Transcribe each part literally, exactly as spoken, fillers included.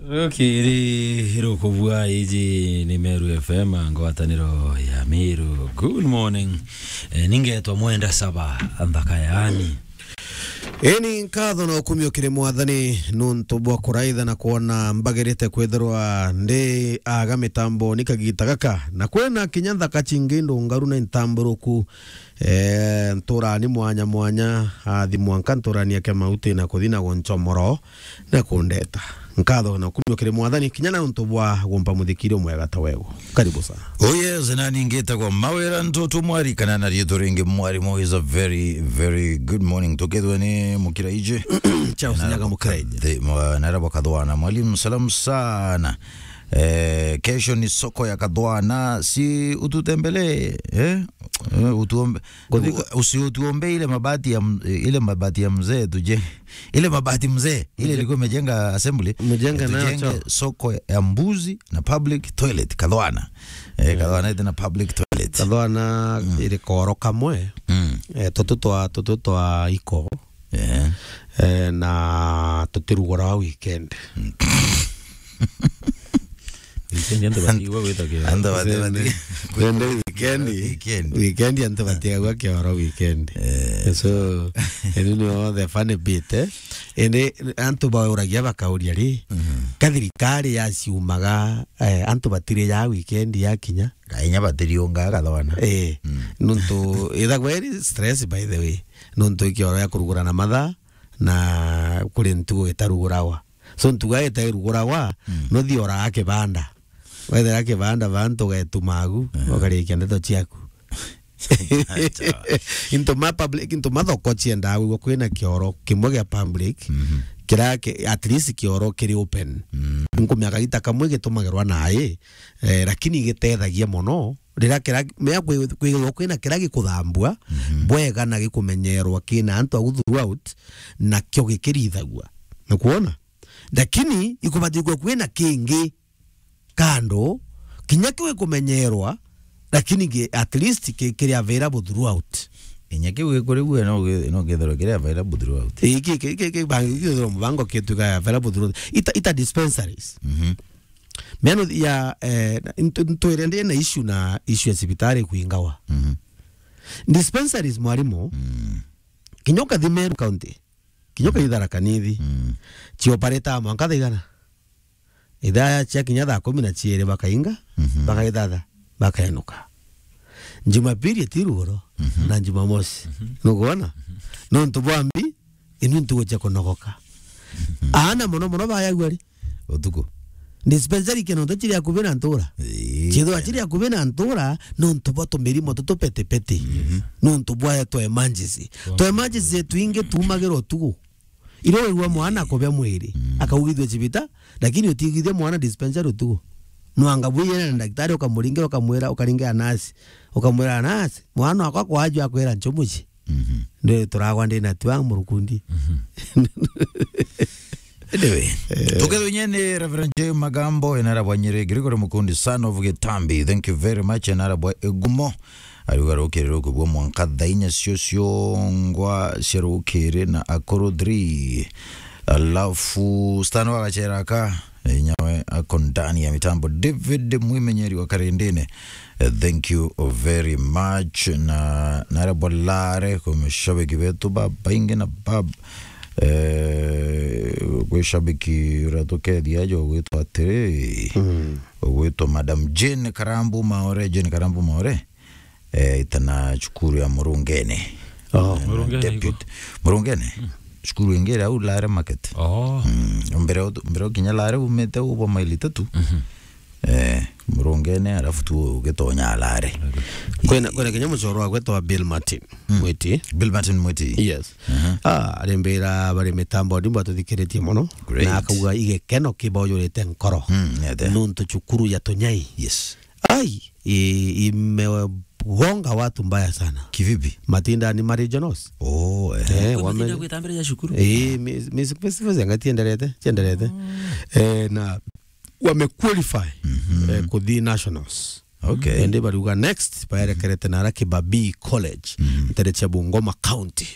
Rukiri rukubua, iji ni Meru F M, ngwataniro ya Meru. Good morning. Eh, ningetwa Mwenda Saba, nthaka yaani. Ini nkatho na ukumio kiri Mwathani nuntu bwa kuraitha na kwona mbagirite kwithirwa ndi aga mitambo ni kagita gaka, na kwina kinya nthaka cingi ndungaru na intamburuku. Eh, nturani mwanya mwanya, athi mwanka nturani ake mauti na kuthi na gunchomoro na kundeta. Nkatho na ukumio kiri Mwathani, kinya na untu bwa gumpa muthikiri umwega ta wego. Karibu sana. Oh yes, na ningitagwa Mawira Ntutu Mwari, kana na riitwa ringi Mwarimu. Is a very, very good morning. Tukethwe ni Mukiraije. Charles Nyaga Mukiraije. The, mwa-, narabo Kathwana. Mwalimu, salamu sana. Eh, kesho ni soko ya Kathwana, si ututembelee, eh? Eh, utuombe, Kuthika- u-, usiutuombe ile mabati ya m-, ile mabati ya mzee tuje. Ile mabati mzee, ile Mje- ilikuwa imejenga assembly. Mjenga nayo Tujenge choo. Soko ya mbuzi na public toilet, Kathwana. Eh, Kathwana ite na public toilet. Kathwana Mm. iri koro kamwe. Mm. Eh, tutu twa, tutu twa iko. Eh. Eh, na tutiruguraga weekend. Weekend antu batiigua gwita kio. Antu bati-, bati-, Indi weekend, Weekend. Weekend antu batiagua kioro weekend. Eh. So, indi nio the funny bit, eh? Indi antu bauragia bakauria ri, Mhm. ka thirikari yaciumaga, eh, antu batiri ya weekend yakinya? Kainya batiriunga Kathwana. Eh, Mm. nuntu ithagwa iri stress, by the way. Nuntu ikioro ya kurugura na mathaa, na kuri ntugo itarugurawa. So ntugo itairugurawa, Mm. nuthi oraga kibanda. Wethera kibanda bantu ugetuma agu, Eh. ukarikia ndeto ciaku. Acha. Into ma public, into ma thoko ciendaga gwigua kwina kioro kimwe gia public, Mhm. kira ki-, at least kioro kiri open. Mm. Nkumia kagita kamwe gitumagirwa nai, eh, lakini gitethagia mono. Riria kira, mea kwi-, kwigirwa kwina kira gikuthambua, Mhm. bwega na gikumenyerwa kina antu agu throughout, nakio gikirithagua. Nukwona? Lakini ikubati gukwa kwina kingi kando, kinya kiu gikumenyerwa, lakini ki-, at least ki-, kiri available throughout. Kinya kiu gikurigua no gi-, no githirwe kiri available throughout. Ii, ki-, ki-, ki-, ki-, bangi githirwe mubango kituika available throughout. Ita, ita dispensaries. Mhm. Miano ya, eh, ntu-, ntwire ndi na issue na issue ya cibitari kuingawa. Mhm. Dispensaries, mwarimu, Mm. kinya ukathi Meru County, kinya ukathi Tharaka Nithi, Mm. ciopareta mwanka thaa igana? Ithaa cia kinya thaa kumi na ciiri bakainga, Mhm. bakaithatha, bakaenuka. Jumapili eti rugoro, Mhm. na Jumamosi. Mhm. Nukwona? Mhm. Nontu bwa mbi, inu ntugo cia kunogoka. Mhm. Aana mono mono bayagua ri? Utuku. Dispensary kiononto chiri akubi na ntura. Ii. Chithwa chiri akubi na ntura, nontu bwa tumirimo tutu petipeti. Mhm. Nontu bwa twa emergency. Twa emergency twingi tumagirwa utuku. Iro wigua mwana akubia mwiri, Mm. akaugithua chibita, lakini utigithia mwana dispensary utuku. Nwanga bwiyene na daktari ukamuringira, ukamwira, ukaringira nasi. Ukamwira nasi, mwana wakwa kwajua akwira nchumuchi. Mhm. Ndi turagwa ndi na twang murukundi. Mhm. Anyway, tukethwe nyene Reverend J Magambo, enara bwa Nyeri, Gregory Mukundi, son of Gitambi. Thank you very much, enara bwa Egumo. Ariuga rukiri rukubua mwanka thaa inya cio ciongwa cia rukiri na akuru three. Alafu Stan wa Gachera ka, eh, nyawe ako ndani ya mitambo. David Mwimenyeri wa Karindini, eh, thank you very much. Na, na ara bolare kwa mashabiki betu babaingi na bab-, eh, kwi shabiki uratukeethia ajo ugwitwa atiri, Mm. ugwitwa Madam Jane Karambu Maore, Jane Karambu Maore. Eh, itana cukuru ya Murungene. Oh. Eh, Murungene Deputy. Iko? Murungene? Mm. Cukuru ingi iria au Lare Market. Oh. Mm, mbere u-, mbere ukinya Lare umite ubo maili itatu. Mhm. Eh, Murungene, alafu tu ugitonya Lare. Okay. Kwina, kwina kinya mucoro wa gwetwa Bill Martin. Mm. Mwiti. Bill Martin Mwiti. Yes. Aha. Ah, arimbira bari mitambo ndimbo atuthikiritie mono. Great. Na akauga igekeno kibaujurite nkoro. Mm, nete. Nuntu cukuru ya Tunyai. Yes. Ai, i-, imegonga watu mbaya sana. Kivipi? Matinda ni ma regionals. Oh, eh. Eh, Kwa wame- matinda gwitambira ya cukuru? Eh, mi-, mi-, mi-, mi-, mi-, ngatienderete, tienderete. Oh. Eh, na wame qualify, Mhm. eh, kuthi nationals. Okay. Indi bariuga next, baerekerete nara Kibabii College, ntere cia Bungoma County.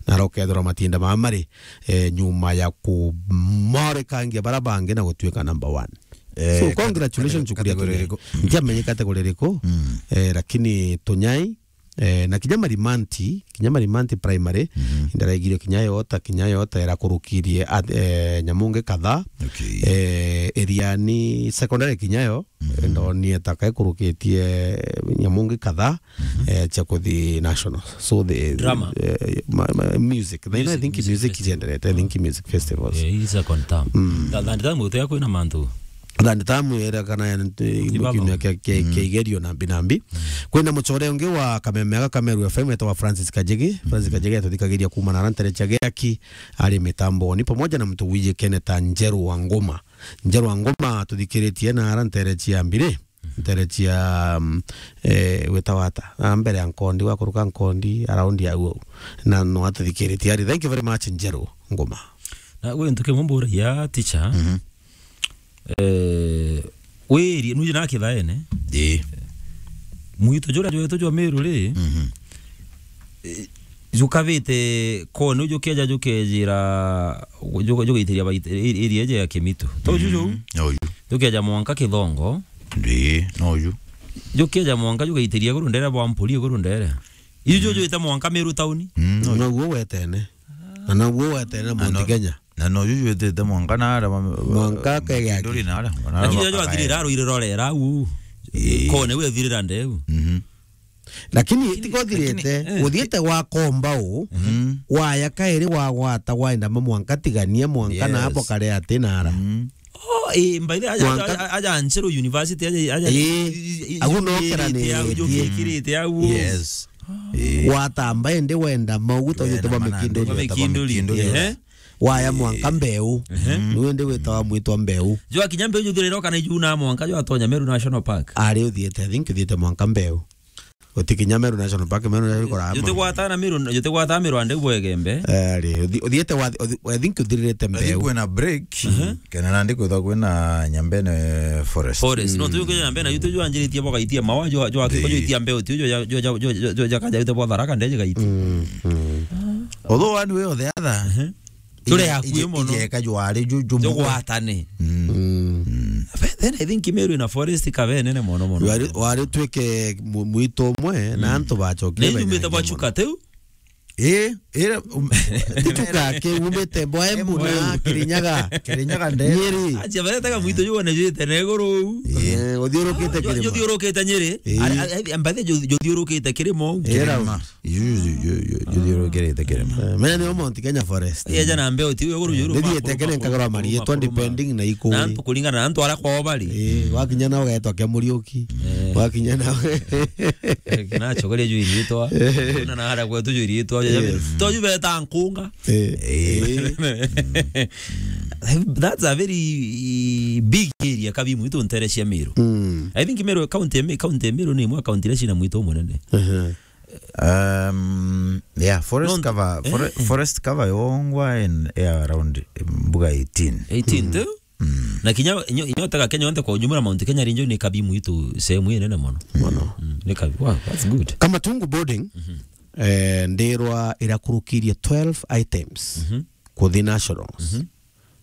Nara ukethirwa matinda maa mari, eh, nyuma ya kumorekangia bara bangi na gutuika number one. Eh, so, kat-, congratulations, category, Chukuria Tunyai. Iriku? Ntiamenye category iriku, eh, lakini Tunyai, eh, na kinya Marimanti, kinya Marimanti Primary, indaraigire kinya yota, kinya yota irakurukirie at-, eh, nyamungi kadhaa. Okay. Eh, Iriani Secondary kinya yo, ndonire ta kaikurukitie nyamungi kadhaa, eh, cia kuthi national. So the, drama, eh, ma-, ma-, music. Then I think music ijenderete, I think music festivals. Eh, hii second term. Tha-, third term utea kwina mantu. Third term era kana ya ntu-, kiumia kia, kia, kia igerio nambi nambi. Kwina mucore ungi wa kameme ga Kameru F M etwa Francis Kajigi. Francis Kajigi atuthikagiria kuuma na ara ntere cia Giaki, ari mitamboni pamoja na mtu wijikene ta Njeru wa Ngoma. Njeru wa Ngoma tuthikiritie na ara ntere cia mbiri, ntere cia, mm, eh, wita wata. Na mbere ya Nkondi, wakuruka Nkondi, around ya uo. Na no atuthikiritie ari. Thank you very much, Njeru Ngoma. Na gwi ntu kimwe mburagia, teacher. Eh, wiri, nuje na kithaene. Ii. Mwitu jura jwetu jwa Meru ri, eh, jukavite kone, jukeja jukejira, ju-, jugaitiria bait-, i-, iria eje ya Kimitu. To juju? No ju. Jukeja mwanka Kithongo. Ii, no ju. Jukeja mwanka jugaitiria iguru ndere bwa Mpuri iguru ndere. Iju jwite mwanka Meru tauni. No ju. Noguo wetene. Na noguo wetene na Mount Kenya. Na no ju jwitite mwanka na ara ma-, mwanka kegea. Nduri na ara. Lakini jwa thirira rwire rorera u. Ii. Kone we thirira ndeu. Lakini tikothirite, lakini, eh, uthiite wa komba u, waya kairi wa gwata waenda ma mwanka tigania mwanka na hapo kare ati na ara. Oh, eh, by the way, aja, aja, aja Njeru University, aja, aja, eh, agu no kiranitie au. Yes. Eh. Watamba indi wenda mau, guta ujite bwa Mikinduri. Bwa Mikinduri. Mikinduri. Ehe. Waya mwanka Mbeu. Niwe ndi witawa mwitwa Mbeu. Jwa kinya Mbeu juthirira kana iju na mwanka jwa tonya Meru National Park. Ari uthiite, I think uthiite mwanka Mbeu. Utikinya Meru National Park, Meru National Park. Jutigwata na Meru, jutigwata Meru ande bwegembe. Eh, ri, uthi-, uthiite wa, uthi-, I think uthiririte Mbeu. I think kwina break, kana nandi kwithwa kwina Nyambene Forest. Forest. No, tuyu kwina Nyambene, yu tuju anjiritie bwagaitia mawa, jwa, jwa, jwa, jwa itia Mbeu, tuju, jwa, jwa, kaja yute bwa Tharaka, ndeje gaiti. Although one way or the other, turi hakuhi mono. Ijeka jwari ju-, jumwe. Jugwatane. Then I think Meru ina forest kabe nene mono mono. Wari, wari twike mu-, mwitu umwe na antu bacokie. Na ijumite bwa chuka teu? Eh, ira, um, ti chuka ke umite bwa Embu na Kirinyaga. Kirinyaga nde. Nyeri. Acha baretega mwitu jwone jwite na iguru. Eh, uthiurukite kirima. Uthiurukite Nyeri. Ari, ari, mbathe ju-, juthiurukite kirima. Kirima. Yu, yu, yu, yu, juthiurukirite kirima. Eh, menya niyo Mount Kenya Forest. Eja na Mbeu ti iguru iguru. Nithiite kene nkagura marietwa depending na ikuri. Na antu kuringana na antu ara kwao bari. Eh, wakinya na ugetwa kia Muriuki. Eh. Wakinya na kina chogoria ju irietwa. Na na ara kwetu ju irietwa. To ju beta nkunga. Eh. Eh. That's a very big area, kabi mwitu ntere cia Meru. I think Meru county, county Meru ni imwe county iria cina mwitu munene. Um, yeah, forest cover, fore-, forest cover yongwa in, yeah, around, eh, mbuga eighteen. Eighteen tu? Na kinya inyo, inyo tega Kenya yonthe kwa ujumla, Mount Kenya Range ni kabi mwitu sehemu inene mono. Mono. Mm, ni kabi. Wow, that's good. Kamatungu boarding, eh, ndirwa irakurukirie twelve items kuthi nationals.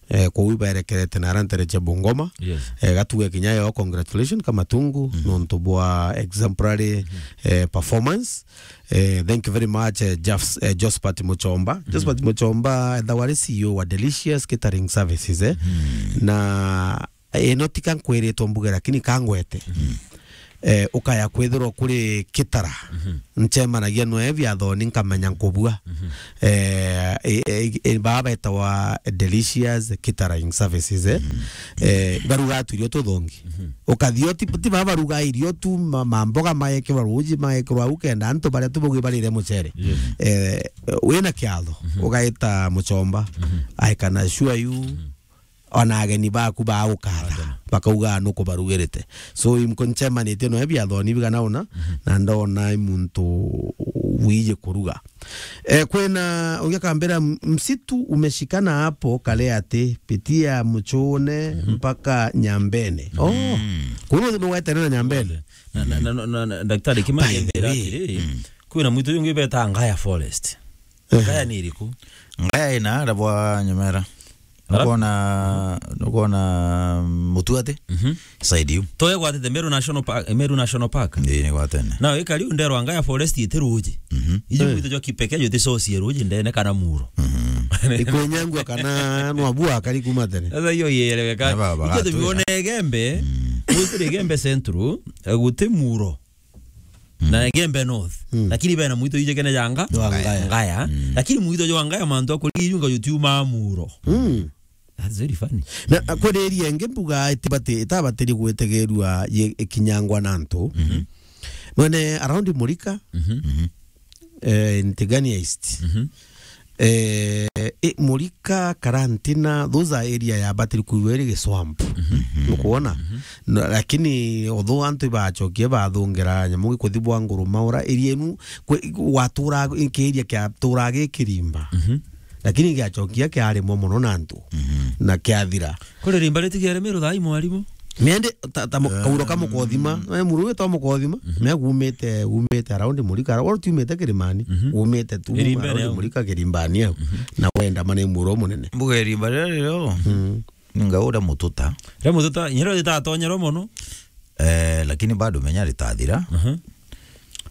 Eh, kwou ibaerekerete na ara ntere cia Bungoma. Yes. Eh, gatuge kinya yo, congratulations Kamatungu, nontu bwa exemplary, eh, performance. Eh, thank you very much, eh, Jafs-, eh, Josephat Muchomba. Josephat Muchomba, ethawa ari C E O wa Delicious Catering Services, eh. Na, eh, no tika nkwiritwo mbuge, lakini kangwete. Eh, ukaya kwithirwa kuri kitara. Nchemanagia noe biathoni nkamenya nkubua. Eh, eh, eh, eh, baa betawa Delicious Catering Services, eh. Eh, baruga tuirio tuthongi. Ukathio ti, ti baba baruga irio tu, ma-, mamboga magekirwa ruji, magekirwa au kenda antu baria tubugi barire mucere. Eh, wina kiatho, ugaita Muchomba. I can assure you, ona ageni baku bagukatha. bakauga nukubarugirite. So, imko nchemanitie no biathoni bigana una, na ndona i muntu wiji kuruga. Eh, kwina ungi akambira, "M-, msitu umeshikana hapo Kaleati, pitia Mchone mpaka Nyambene." Oh, kuru ni wetene na Nyambene. Na, na, na, na, na, Daktari Kimani, by the way, atiri, kwina mwitu yungi beta Ngaya Forest. Ngaya ni iriku? Ngaya ina arabwa Nyamera. Alafu? Nukona, nukona mutu ati? Mhm. Side you. Toye gwatete Meru National Park, Meru National Park. Ndi ni gwatene. Na ikari nderwa Ngaya Forest iti ruji. Mhm. Iji mwitu jwa kipekee juticocie ruji ndene kana muro. Mhm. Ikwenyangwa kana nwabua akari kuma tene. Sasa hiyo ieleweka. Na baba ikio bagatuya. Tubione Igembe, mwitire Igembe Central, eh, guti muro. Na Igembe North. Mm. Lakini bena mwito ijekene janga? Jwa Ngaya. Ngaya. Mm. Lakini mwito jwa Ngaya mantu akuri ijunga jutiuma muro. Mm. That's very funny. Na, a, kweri area ingi mbuga itibati-, itabatiri gwetegerua ye-, ikinyangwa na antu. Mhm. Mwene around Murika, mhm, eh, in Tigania East. Mhm. Eh, i, Murika, Karantina, those are area ya batiri kuigwa iri giswamp. Mhm. Nukuona? Mhm. No, lakini although antu ibachokie bathungira nyamu gikuthi bwa nguru maura, area inu kwe-, watura nki area kia tura gi kirimba. Mhm. Lakini giachokia kiarimwa muno na antu. Mhm. Na kiathira. Kuri rimba ritigiere Meru thaa ii, mwarimu? Miende ta, ta mu-, eh, kauro ka Mukothima, eh, muru witwa Mukothima, mhm, me gumite, gumite around Murika, wala tiumite Kirimani, mhm, gumite tu Kirimbani around au. Murika Kirimbani au. Mhm. Na wenda mane muro munene. Mbuga irimba riria rio, mm, ninga uria mututa. Ria mututa, nyiro ritatonyerwa muno. Eh, lakini bado menya ritathira. Mhm.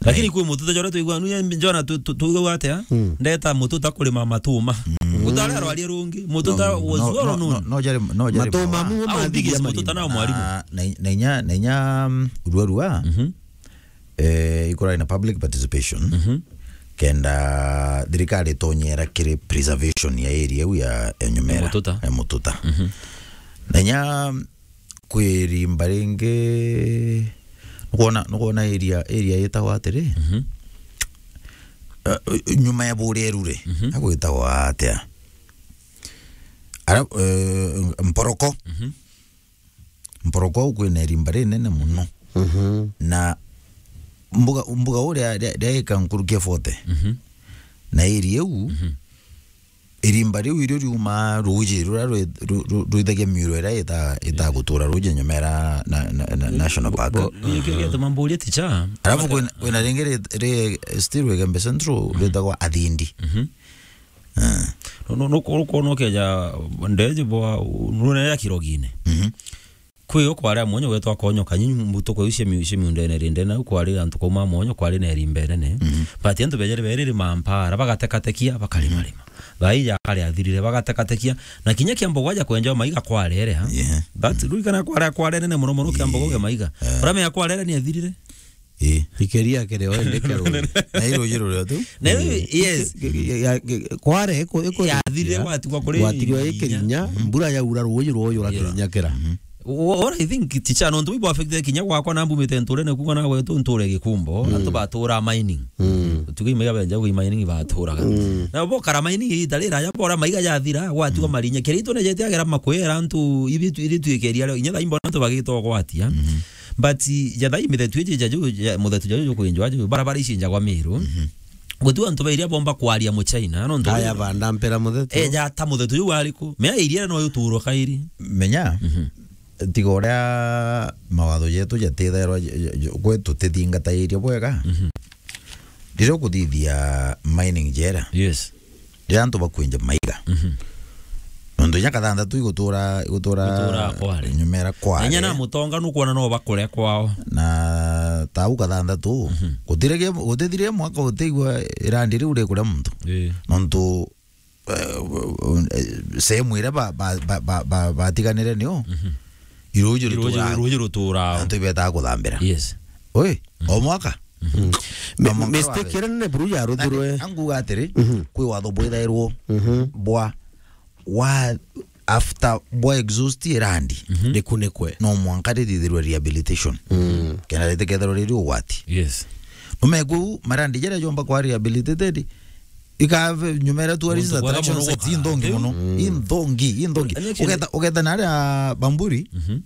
Lakini kwi mututa jora tuigua nu, njona tu, tu, tuigua atia? Mm. Ndeta mututa kurima matuma. Mm. Utare arwarie rungi, mututa no, was no, well no, known. No, no, jari, no, jari matuma mawa. Mu au mathithia mathithia mututa na mwarimu. Ah, na, na inya, na inya, mm, ruarua, mhm, eh, ikoragwo na public participation. Mhm. Kenda thirikari itonyera kiri preservation ya area iu ya, ya Nyumera. Ya mututa. Ya mututa. Mhm. Na inya kwi rimba ringi, nukwona, nukwona area, area yitagwa atiri? Mhm. Eh, nyuma ya Buria Erure, mhm, agwitagwa atia? Ara, eh, Mporoko. Mhm. Mporoko au kwina irimba rinene muno. Mhm. Na mbuga, mbuga uria ria, ria ika nkuruki ya forty. Mhm. Na area iu, mhm, irimba riu irio riuma ruuji ruria rwi-, ru-, ru-, rwithagia miuro iria ita-, itagutura ruuji Nyumera na, na, na, National Park. Bo-, bo-, giki gituma mburia ticha. Alafu kwina, kwina ringi ri, ri still Igembe Central, mhm, rwitagwa Athindi. Mhm. Eh. No, no, no, kwona ukeja ndeji bwa, nune ya Kirogine. Mhm. Kwi o kwari a mwanya gwetwa Konyoka, nyinyi mbuto kwa cia mi-, cia miundene rindene, au kwari antu kauma mwanya, kwari na irimba inene. Mhm. But antu bejere beriri mampara, bagatekatekia, bakarima rima. Mhm. Thaa ii ya kare athirire, bagatekatekia. Na kinya kia mbogo aja kwenja maiga kwarere, ha? Yeah. That, mm, rurikana kware, kware nene muno muno kia mbogo, yeah, ge maiga. Eh. Urame ya kwarere ni athirire. Ii. Ikeria kere o ende kero. Na iro jiro rio tu. Na ii, yes. Ke-, ke-, ya, ke-, kware iko, iko yathirire, gwatigwa kuri gwatigwa i Kirinya, mbura yaura ruuji rwoyura Kirinya kira. Mhm. Wha-, what I think, ticha, nontu bibo affected kinya gwakwa na mbumite nturene kuga na gwetu nture Gikumbo, mm, antu batura mining. Mm. Tuge imega benja gwi mining baturaga. Mm. Na bo kara mining ita rira ya bora maiga jathira, gwatigwa, mm, marinya. Kiri itu ne jete agera makwera antu ibi tu-, ibi twikeria, inya thaa imbo antu bagitogwatia. Mhm. But ja thaa imethetu iji ja ju, ja muthetu ja ju kwinjwa ju, barabara ici njagwa Miru. Mhm. Guti antu bairia bomba kwaria Muchina, no ntu aya banda mpera muthetu. E, ja ta muthetu ju wari ku? Mea iria no yuturwa kairi. Menya, mhm, tiga uria mawatho jetu jatithairwa j-, j-, j-, gwetu tithingataire bwega. Mhm. Riria ukuthithia mining jera. Yes. Riria antu bakwinja maiga. Mhm. Nontu inya kathanthatu igutura, igutura Igutura kware. Nyumera kware. Na inya na mutonga nukwona no bakure kwao. Na tau kathanthatu, mhm, gutire ge-, gutithire mwaka utigwa irandi riu rikuria muntu. Ii. Nontu, eh, eh, sehemu iria ba, ba, ba, ba, ba, batiganire nio, mhm, iruji Iruji, rutura. Iruji rutura. Antu ibetaga kuthambira. Yes. Oi, o mwaka. Mhm. Na mi-, mwaka mistake wa iria nene buru yaruthirwe. Anguga atiri, mhm, kwi watho bwithairwo, mhm, bwa, wa, after bwa exhaust irandi, mhm, rikunikwe. No mwanka rithithirwe rehabilitation. Mm. Kenda ritikethirwa riri ugwati. Yes. Numegwe u marandi jaria jomba kwa rehabilitated, ikave nyumera tourist attraction sites, inthongi muno. Mm. Inthongi, inthongi. Uketa, uketa na aria Bamburi, mhm,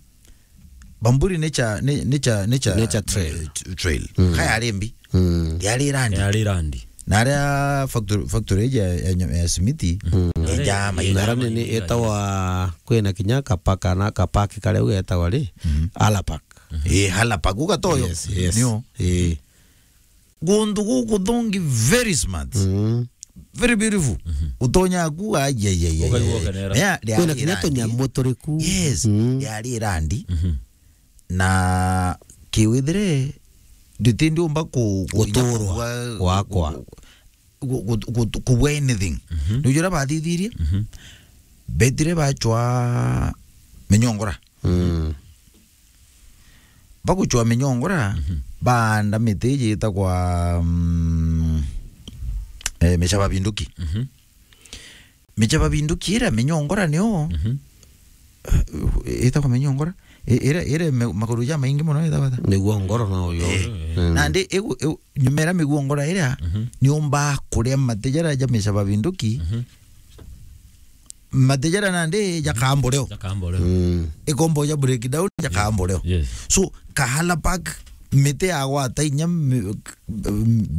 Bamburi Nature, ni-, Nature, Nature, Nature Trail. Eh, t-, trail. Mm. Ka yari mbi. Mm. Yari randi. Yari randi. Na aria factory, factory ya, ya, ya simiti, mm, ejaa maira. Na rani ni etawa, kwina kinya kapaka na kapaki karia u etawa ri? Mm. Alapak. Eh, Alapak, ugatoyo. Yes, yes. Nio. Eh. Guntu gukuthongi very smart. Mm. Very beautiful. Mhm. Utonya ku, ai, ai, ai, ai, ukaigua ai. Ukenera. Ya, ya, kwina kinya randi. Tunyamu turiku. Yes, mm, yari randi. Mhm. Na kiwithire, nditi ndiumba ku-, ku-, guturwa gwa-, gwakwa. Ku-, ku-, ku-, ku-, kubua anything. Mhm. Ni uria bathithirie. Mhm. Betire bachwa minyongora. Mm. Baguchwa minyongora, mhm, baanda miti iji itagwa, mm, eh, micaba binduki. Mhm. Micaba binduki iria minyongora nio, mhm, eh, itagwa minyongora? I-, iria, iria me-, maguru jamaingi mono itagwa ata? Miguongora no yo. Eh. Mm. Nandi igu-, igu-, nyuma iria miguongora iria, mhm, niumbaa kuria mati jaria ja micaba binduki, mhm, mati jaria nandi jakamboreo. Jakamboreo. Mm. Ikombo ja breakdown, jakamboreo. Yes. So, Kahala Park, miti yagwata inya mi-,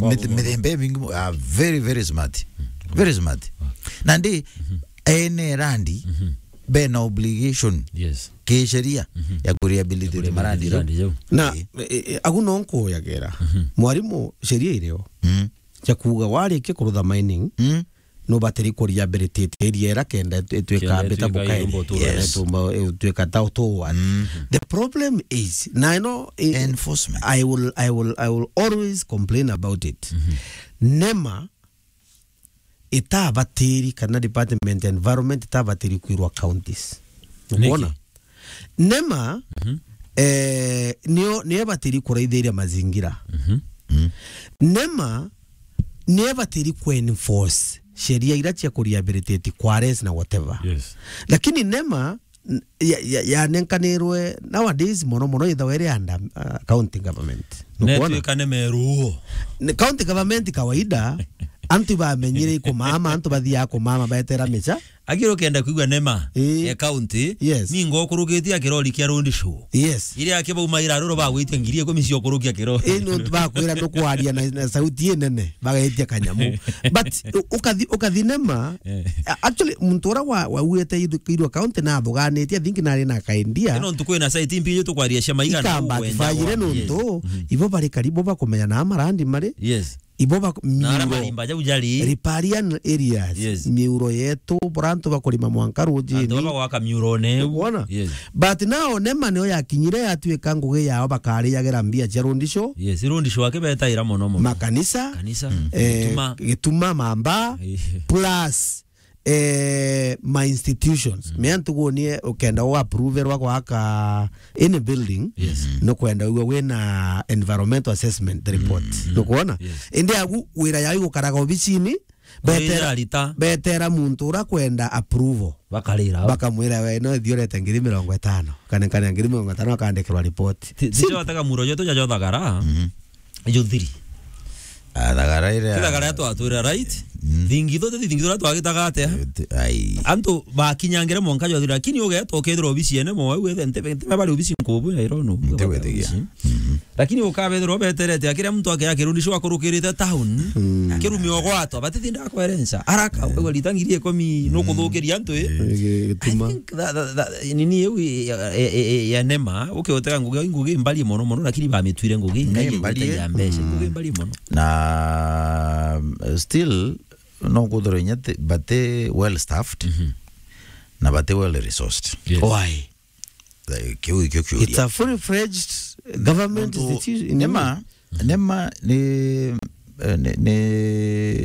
miti, mithemba imingi mo-, ah, very, very smart. Mm. Very smart. Ah. Nandi, mhm, ene randi, mhm, bena obligation, yes, kisheria, mhm, ya kurehabilitate marandi jau. Marandi jau. Na, eh, eh, agu no nkuyagera. Mhm. Mwarimu, sheria irio. Mm. Ja kuuga warikia kurutha mining, mm, nubatiri ku rehabilitate area iria kenda itu-, ituika kenda bita ituika bukairi. Irumba utura. Yes. Ituma, ituika ta utuwa. Mm. The problem is, na ino, eh, enforcement. I will, I will, I will always complain about it. Mhm. NEMA itabatiri kana department ya environment itabatiri kwirwa counties. Niki? Ukwona? NEMA, mhm, eh, nio, nio ibatiri kuraithiria mazingira. Mhm. Mm. NEMA nio ibatiri ku enforce sheria iria cia ku rehabilitate quarries na whatever. Yes. Lakini NEMA, n-, ya, ya, yanenkanirwe nowadays mono mono ithawa iri under, uh, county government. Nukwona? Netwika ni meruo. Ni county government kawaida, antu bamenyire kumama, antu bathiaga kumama betera micha. Akiri ukenda kwigua NEMA, ii, ya county, yes, ningo ukurukitie akirori kia road show. Yes. Iria ake baumaira ruro bagwitia ngiri ikumi cia ukurukia kirori. Ii, nontu bakwira nukwaria na, na sauti inene, bagaitia kanyamu. But u-, ukathi, ukathi NEMA, eh, a-, actually, muntu ura wa, wa uete iru-, irwa county na athuganitie, I think nari na kaendia. Ino ntuku ina site mbi tukwaria cia maigana ikamba ukwenda tifayire wa-, nontu, yes, mhm, ibo bari karibu bakumenya na marandi mari. Yes. Ibo ba-, na ara miuro, marimba jau jari riparian areas, yes, miuro yetu, bora antu bakurima mwanka rujini. Antu baba gwaka miuro ne. Wona? Yes. But now NEMA nio yakinyire yatuika ngugi yao bakariagira mbia cia road show. Yes, road show ake betaira mono mono. Makanisa, kanisa, mm, eh, gituma, gituma mamba, eh, plus eh, ma institutions. Mm. Mea ntugunie ukenda u approverwa gwaka any building, yes, mm, nukwenda uwe wina environmental assessment report. Mm, mm. Nukwona? Yes. Indi agu wira yao igukaraga obicini, betera, betera muntu ura kwenda approval. Bakarira. Bakamwira, "We, no thiorete ngiri mirongo itano. Kane, kane ngiri mirongo itano akandikirwa report." Ti, ti. Simple. Jotaga muro joto jajothagara. Mhm. Juthiri. Ah, thagara iria. Ti thagara ya twatwira, right? Mm. Thingitho, ti thingitho iria twagitaga atia? Eh, ti-, ai. Antu bakinyangire mwanka jwathira, lakini ugeeta ukethirwa obisi ene mo, wau wethe, ntebe, ntebe bari obisi nkubu ya irono. Ntiwethigia. Mhm. Lakini ukabethirwa beterete, akiria muntu ake akirundishwa akurukirite town, mm, akirumio gwatwa, batitinda akwerensa. Araka, eh, uwe rita ngiri ikumi, mm, nukuthukiria antu, eh? Eh, gituma. I think that, that, that, nini iu ya, ya, ya, ya NEMA, ukiotega ngugi, ngugi mbari mono mono, lakini bamitwire ngugi, ngai mbari, ya mbeca, mm, ngugi mbari mono. Na, uh, still, no kuthirwa inya ti-, bati well staffed, mhm, na bati well resourced. Yes. Why? Eh, kiu ikio kiuria. It's a fully fledged government institution. NEMA, NEMA ni, eh, ni, ni,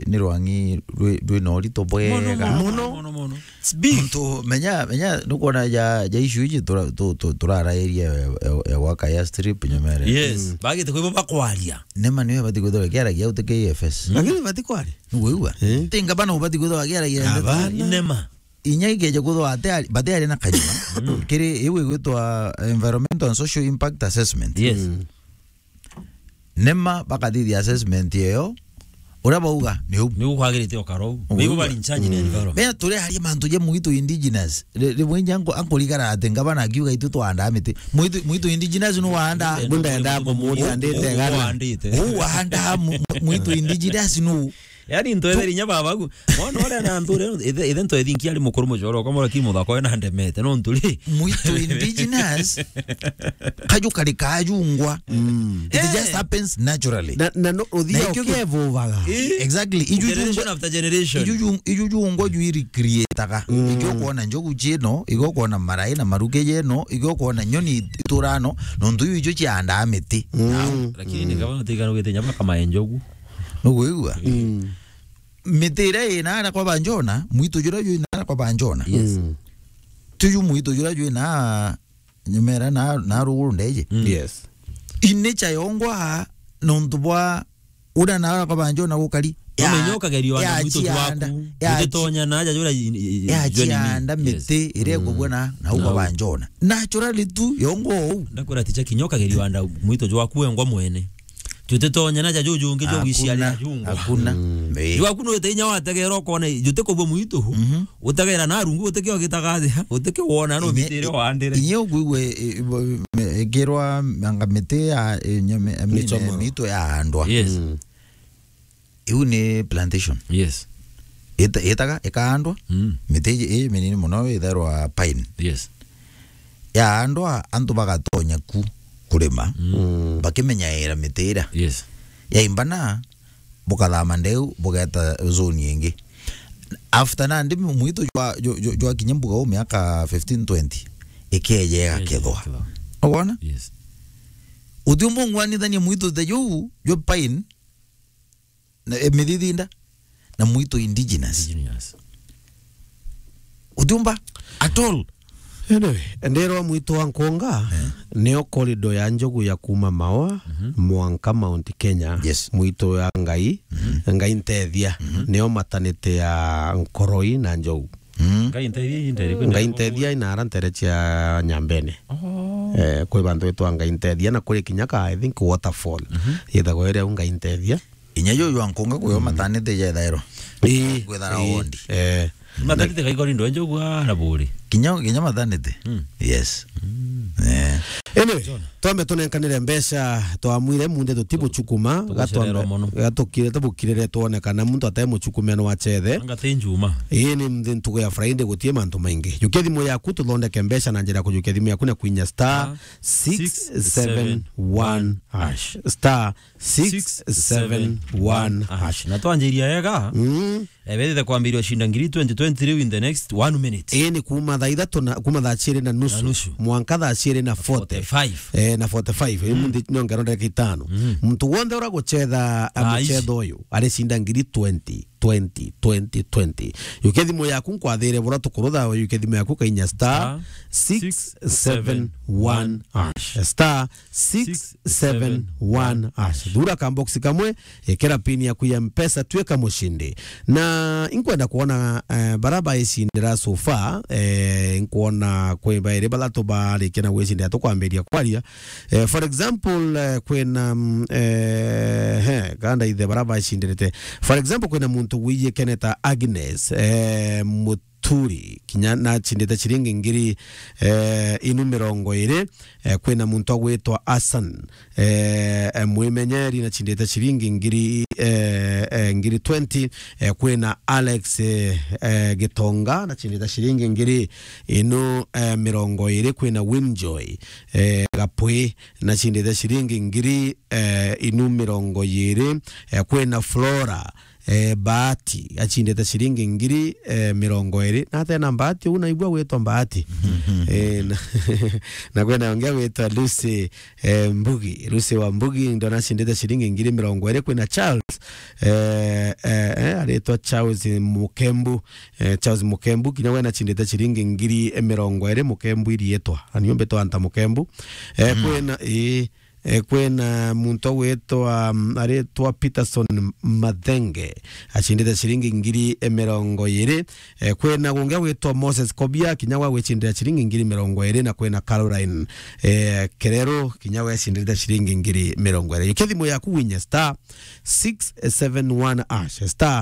ni rwangi rwi, rwina urito bwega. Mono, mono, mono, mono. It's big. Muntu, menya, menya, nukwona ja, ja issue iji tura-, tu-, tu-, turarairia ya, ya, ya gwaka airstrip nyomere. Yes, mm, bagite kwibo bakwaria. NEMA niyo ibati kwithirwa ikiaragia uti K F S. Mm. Lakini ibati kwaria. Nigwigua? Eh. Ti ngabana ubati kwithirwa akiaragia ndeto. Abana. NEMA. Inya ikeja kwithirwa ati ari, bati ari na kanyua. Mm. Kiri iu igwitwa Environmental and Social Impact Assessment. Yes. Mm. NEMA bakathithia assessment iyo, Uria bauga ni u. Ni ukwagirite ukara u. Uguo. Bigo bari in charge na environment. Mea turi aria mantu ja mwitu indigenous. Ri-, rimwe inya anko-, ankorigara ati ngabana akiuga itu twandaa miti. Mwitu, mwitu indigenous nu wanda. Ndio, ndio, ndio, ndio, andite gana. Wandite. U wanda mu-, mu-, mwitu indigenous nu. Yaani, ntwetheri inya baba gu. Mwana uria na nthure, ithe, ithe ntwethi nki ari mukuru mucoro, ukamwira ki muthaka uyu na ndemete, no nturi. Mwitu indigenous, kaju kari kajungwa. Mm. It just happens naturally. Na, na no, uthia na ikio gi-, ukevuvaga. Eh? Exactly. Iju generation jungwa, after generation. Iju ju-, iju jungwa ju iri creataga. Mm. Ikio kuona njogu cieno, ikio kuona marai na maruke yeno, ikio kuona nyoni iturano, nontu iu icio ciandaa miti. Mm. Lakini ni kama tigana gwite nyama kama enjogu. Nuguigua? Mm. Miti iria ii naara kwa Banjona, mwitu juria jwi naara kwa Banjona. Yes. Mm. Tuju mwitu juria jwi na nyumera na, na ruguru ndeje. Mm. Yes. Ine cha yongwa nontu bwa uria naara kwa Banjona gukari. Umenye ukagerio ana mwitu jwaku. Utitonya na aja juria i-, i-, i-, ya jweni chianda mi. Yes. Miti iria ikubwa na, na uga Banjona. Naturally tu yongwa ou. Ndakwira ticha kinya ukagerio ana mwitu jwaku wengwa mwene. Jutitonya na ja jujungi jwa gwiciaria jungwa. Hakuna. Mm. Jwaku no ite inya wategera ukona jutikubwa mwitu. Mhm. Utegera na rungu utike ugitaga thi, utike wona no mitire wandire. Inye ukwigua, e, e, bo-, me-, ikirwa anga miti ya, e, nyome, I mean, mitu ya andwa. Yes. Mm. Iu ni plantation. Yes. Ita-, itaga, ikaandwa, mm, miti iji, ii minini muno itherwa pine. Yes. Yaandwa, antu bagatonya ku kurima, mm, bakimenyaira miti iria. Yes. Yaimba na, bukathama ndeu, bugeta zone ingi. After nandi mwitu jwa, jwa, jwa, jwa kinya mbuga u miaka fifteen twenty, ikeeja igakethwa. Igakethwa. Ukwona? Yes. Utiumba ung'wanithania mwitu ta juu, jwa pine, na, e, mithithinda, na mwitu indigenous. Indigenous. Utiumba at all. Anyway, ndirwa mwitu wa Nkunga, eh, nio corridor ya njogu ya kuma Maua, mhm, mwanka Mount Kenya. Yes. Mwitu ya Ngai, mhm, Ngai ntethia, mhm, nio maternity ya Nkoroi na njogu. Mm. Ngai ntethia, ii ntere, kwi ntere. Ngai ntethia inaara ntere cia Nyambene. Oh. Eh, kwi bantu bitwa Ngai ntethia na kuri kinya ka, I think, waterfall. Mhm. Yithagwa iri au Ngai ntethia. Inya juju jwa Nkunga kwi o, mm, maternity jethairwa. Ii, kwithara, ii, wondi. Eh. Maternity gaigori ndo njogu ara buri. Kinya, kinya maternity. Mm. Yes. Mm. Eh. Anyway, twambe tunenkanire mbeca, twamwire munde tutibuchukuma, tugucererwa gatwambe, mono, gatukire, tubukirire twonekana muntu ate muchukumia no achethe. Anga ti njuma. Ii ni mthi ntugu ya Friday, gutie mantu maingi. Jukia thimu yaku tuthondeke mbeca na njira ya kujukia thimu yaku na kwinya star, ah, six seven one hash. Star six seven one hash. Na twanjiria ega, mm, eh, bethite kwambiriria ucinda ngiri twenty twenty riu in the next one minute. Ii ni kuma thaa ithatu na, kuma thaa ciiri na nusu, na nusu, mwanka thaa ciiri na forty. Forty-five. Eh, na forty-five. Ii, mm, munthi nongero ndagika itano. Mm. Muntu wonthe ura guchetha, ah, muchetho uyu, aricinda ngiri twenty, twenty, twenty, twenty. Yukia thimu yaku nkwathire bura tukurutha, yukia thimu yaku kainya star six seven one hash. Star six seven one hash. Thura ka box kamwe, ikira pin yaku ya Mpesa, twika mushindi. Na inkwenda kuona, eh, bara baicindira so far, eh, inkwona kwi bairi bathatu barikia na gwicindira tukwambiria kwaria. Eh, for example, eh, kwina, mm, eh, he, ganda ithe bara bacindirite. For example, kwina muntu wijikeneta Agnes, eh, Mut- Turi, kinya nachindite ciringi ngiri, eh, inu mirongo iri, eh, kwina muntu agwitwa Hassan, eh, eh, mwimenyeri nachindite ciringi ngiri, eh, eh, ngiri twenty, eh, kwina Alex, eh, eh, Gitonga nachindite ciringi ngiri inu, eh, mirongo iri, kwina Winjoy, eh, Gapwi nachindite ciringi ngiri, eh, inu mirongo iri, eh, kwina Flora, eh, Bahati, achindite ciringi ngiri, eh, mirongo iri. Na atena Bahati, uu naigua gwitwa Bahati. Eh, na, na kwina ungi agwitwa Lucy, eh, Mbugi. Lucy wa Mbugi, ndona achindite ciringi ngiri mirongo iri. Kwina Charles, eh, eh, eh, aritwa Charles Mukembu. Eh, Charles Mukembu, kinya we nachindite ciringi ngiri mirongo iri, Mukembu iriitwa. Anio mbitwa Anta Mukembu. Eh, mm, kwina, ii, Eh, kwina muntu ugwitwa, mm, aritwa Peterson Mathenge, acindite ciringi ngiri mirongo iri. Eh, kwina gungi ugwitwa Moses Kobia, kinya gwa gwicindira ciringi ngiri mirongo iri, na kwina Caroline, eh, Kereru, kinya gwecindite ciringi ngiri mirongo iri. Yukia thimu yaku winye star six seven one hash, star